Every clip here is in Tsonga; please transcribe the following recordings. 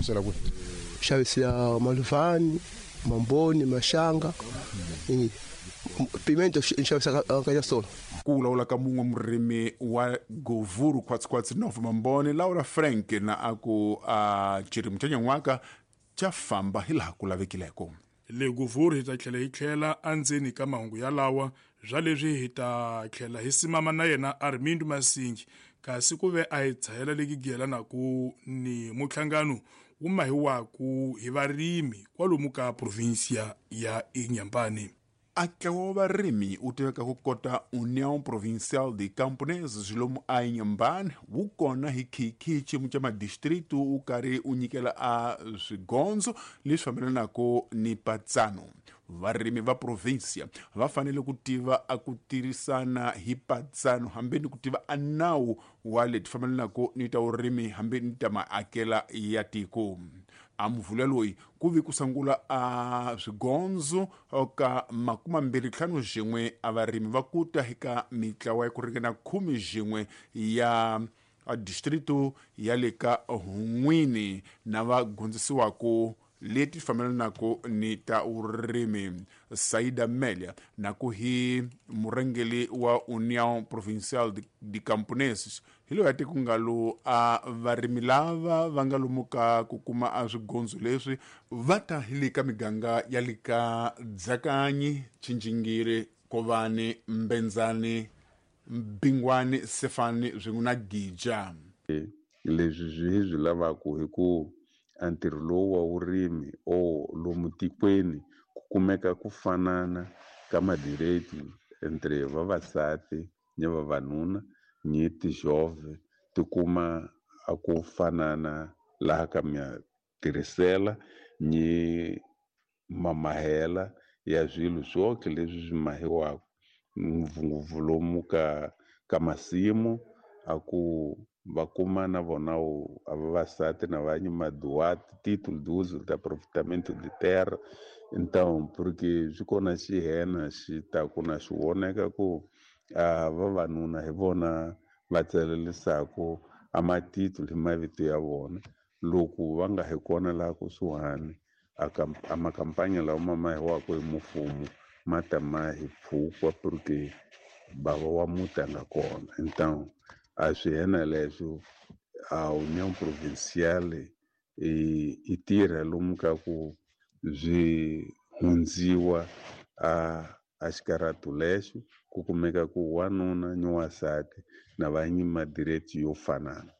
Xavisela kwihi? Xavisela Maluvani, Mamboni, Maxanga. Pimento ni xavisa ka Nyasolo. Ku vulavula ka mun'we murimi wa Govuru khwatsikhwatsi Nova Mamboni Laura Frank na a ku a xirimi xa nyan'waka xa famba hi laha ku lavekileko. Le Govuru hi ta tlhela hi tlhela endzeni ka mahungu yalawa bya leswi hi ta tlhela hi simama na yena Armindo Masingi kasi ku ve a hi tshahela leki giyelanaku ni muhlangano wu mahiwaku hi varimi kwalomu ka provinsia ya Inhambane. A ntlawa wa varimi wu tiveka ku kota União Provincial de Camponeses lomu a Inhambane wu kona hi khikhi xiyimo xa madistritu wu karhi wu nyikela a swigondzo leswi fambelanaka ni patsano. Varimi va provinsia va fanele ku tiva a ku tirhisana hi patsano hambi ni ku tiva a nawu wa leti fambelanaka ni ta vurimi hambi ni ta maakela ya tiko. A muvula loyi ku vi ku sungula a swigondzo ka 25 a varimi va kuta eka mitlawa ya ku ringana 11 ya distrito ya le ka Hun'wini na va gondzisiwaka leti fambelanaka ni ta vurimi. Saida Melia na ku hi murhangeri wa União Provincial de Camponeses hi loyi a ti ku nga lo a varimi lava va nga lomu ka ku kuma a swigondzo leswi va ta hi le ka miganga ya le ka Dzakanyi, Tshingingiri, Kovani, Mbenzani, Bingwani, Sefani swin'we na Gija. Leswi swi hi swi lavaka hi ku a ntirho lowu wa vurimi o lomu tikweni ku kumeka ku fanana ka madireti entre vavasati ni vavanuna ni tijove ti kuma a ku fanana laha ka matirhisela ni mamahela ya swilo swoke leswi swi mahiwaka ngopfungopfu lomu ka masimu a ku va kuma na vona a vavasati na va maduati título de uso de aproveitamento de terra. Então porque swi kona xihena xi taku na xi voneka ku a vavanuna hi vona va tsalelisaku a matitulu hi mavito ya vona loko va nga hi kona laha kusuhani a makampanya lawa ma mahiwaka hi mfumo ma ta ma hi pfukwa porque bava wa muti a nga kona. Então a swi hena leswo a União Provincial i tirha lomu ka ku byi hundziwa a xikaratu lexo ku kumeka ku wanuna ni wansati na va nyi madireti yo fanana.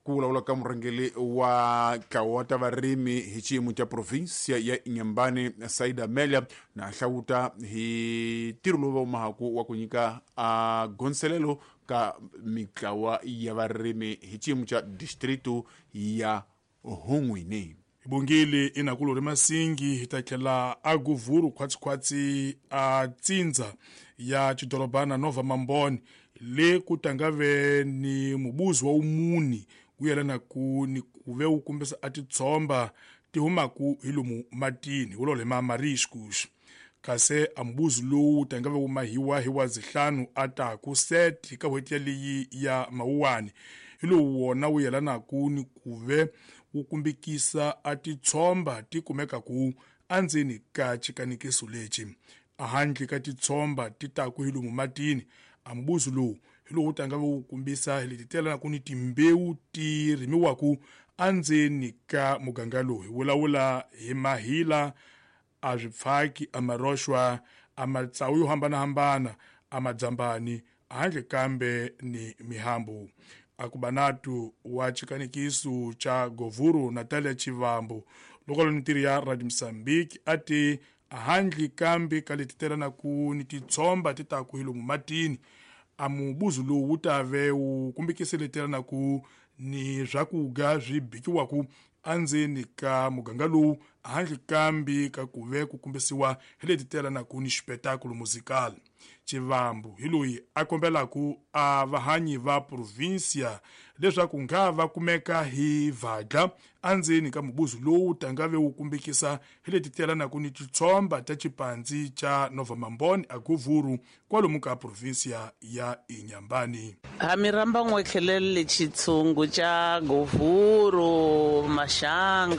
Ku vulavula ka murhangeri wa ntlawa wa ta varimi hi xiyimo xa provinsia ya Inhambane Saida Melia na hlawuta hi ntirho lowu va wu mahaku wa ku nyika a gondzelelo ka mitlawa ya varimi hi xiyimo xa distritu ya Hun'wini. Hi bongile inakulori Masingi hi ta tlhela a Govuru khwatsikhwatsi a tsindza ya xidorobana Nova Mamboni le ku tangave ni mubuzi wa umuni wu yelanaku ni ku ve wu kombisa a titshomba ti humaku hi lomu matini wulolo hi ma mariscus kasi a mubuzi lowu tangave wu mahiwa hi wa zihlanu a taku set ka n'hweti yaleyi ya Mawuwani hi lowu wona wu yelanaku ni ku ve wu kumbikisa a titshomba ti kumekaku endzeni ka xikanikiso lexi. Ahandle ka titshomba ti taku hi lomu matini a mubuzi lowu hi lowu tanga wu kombisa hi leti telanaku ni timbewu ti rimiwaku endzeni ka muganga lowu. Hi vulavula hi mahila a swipfaki a maroxwa a matsawu yo hambanahambana a madzambani handle kambe ni mihambu. Akubanatu wa xikanikiso xa Govuru Natalia Chivambo loko lo ni ya Radio Mozambique a ti handle kambe ka leti telanaku ni titshomba ti taku hi lomu matini a mubuzi lowu wu ta ve wu kumbikise leti telanaku ni swakudya swi bikiwaku endzeni ka muganga lowu handle kambe ka ku ve ku kombisiwa hi leti telanaku ni xipetakulo musical. Chivambu hi loyi a kombelaku a vahanyi va provinsia leswaku nga va kumeka hi vadla endzeni ka mubuzi lowu tangave wu kumbikisa hi leti telanaku ni titshomba ta xipandzi xa Nova Mamboni a Govuru kwalomu ka provinsia ya Inhambane. Ha mi rhamba n'we tlhelele xitshungu xa Govuru, Maxanga.